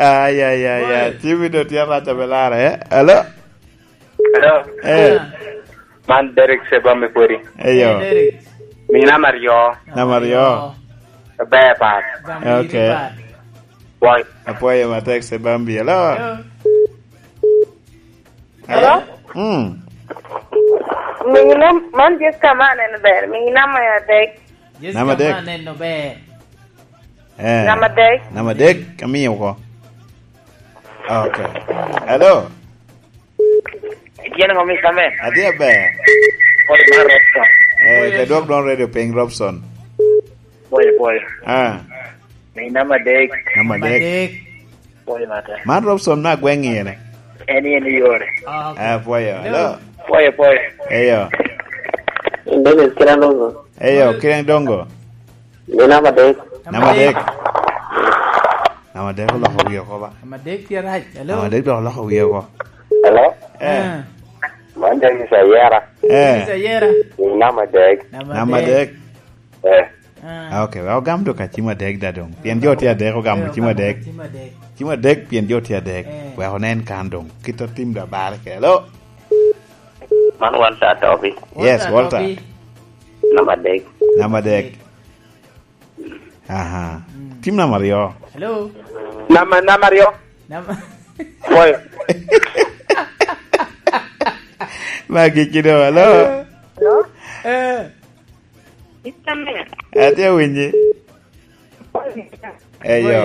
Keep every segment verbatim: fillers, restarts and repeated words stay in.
Ay, ay, ay, ay. Timi do tye arac abelara, eh? Hello? Hello? Eh. Ah. Man Derek Sebami Pwodi. Eyo. Eh, Derek. Mina Mario. Nama ryo. Mario. Bepat. Bambi. Okay. Bepat. Boy. Apwoyo matek Sebami. Hello? Hello? Hello? Mm. Mina, man Jessica ma aneno ber. Mina ma adek. Jessica Nama dek. Ma aneno ber. Eh. Nama dek. Nama dek, amiyo oko. Okay. Hello. Yen ŋo, Mister Man? Adi aber. Pwoyo mar Robson. Eh, te dwok dwon radio piny, Robson. Pwoyo, pwoyo. Ah. Ni nama dek. Nama dek. Madek. Pwoyo mata. Man Robson me agweŋ ene. En, en yore. Ah, okay. Eh, pwoyo. Hello. Hello. Pwoyo, pwoyo. Eyo. Dennis Kiran Dongo. Eyo, Kiran Dongo. Ni nama dek. Nama dek. Nama dek oloko wiye oko ba. Nama dek tye rac. Hello? Nama dek dok oloko wiye oko. Hello? Eh. Ah. Man James Ayera. Eh. James Ayera. Ni nama dek. Nama dek. Eh. Ah. Ah, okay. Wa ogam dok acim adek da dong. Pien jo tye adek ogamo cim adek. Cim adek. Cim adek pien jo tye adek. Eh. Wek onen kan dong. Kit a tim da bare ke. Hello? Man Walter Atobi. Yes, Walter Walter. Atobi. Nama dek. Nama dek. Aha. Mm. Tim namba aryo. Hello. Nama, nama aryo. Nama Pwoyo. Magi kido, hello. Hello? Eh. Mister Man. Atye winyi. Eyo. Pwoyo.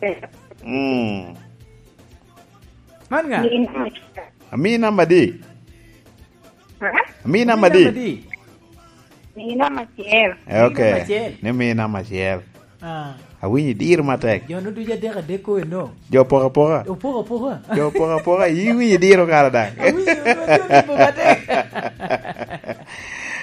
Eh. Mm. Man ŋa? Ni nama. Ami namba di? Ha? Ami namba di? Ami namba di? Ni nama acel. Eh, okay. Ni nama acel. Ni mi namba acel. Ah. Awinyo idiro matek. Jo no ducu adek adek ko eno. Jo poka poka. Jo poka poka. Jo poka poka. Iwinyo idiro kara daŋ. Awinyo, awinyo idiro matek.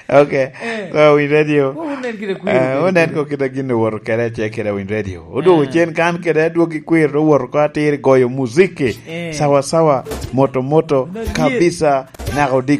Okay. Eh. So, Winy Radio. Wunen kede kwir. Eh, wunen ko kede gin owoto kede, ce kede Winy Radio. Odwogo cen kan kede adwogi kwir, owoto ko atir goyo muziki. Eh. Sawa sawa, moto moto, kabisa, naka odi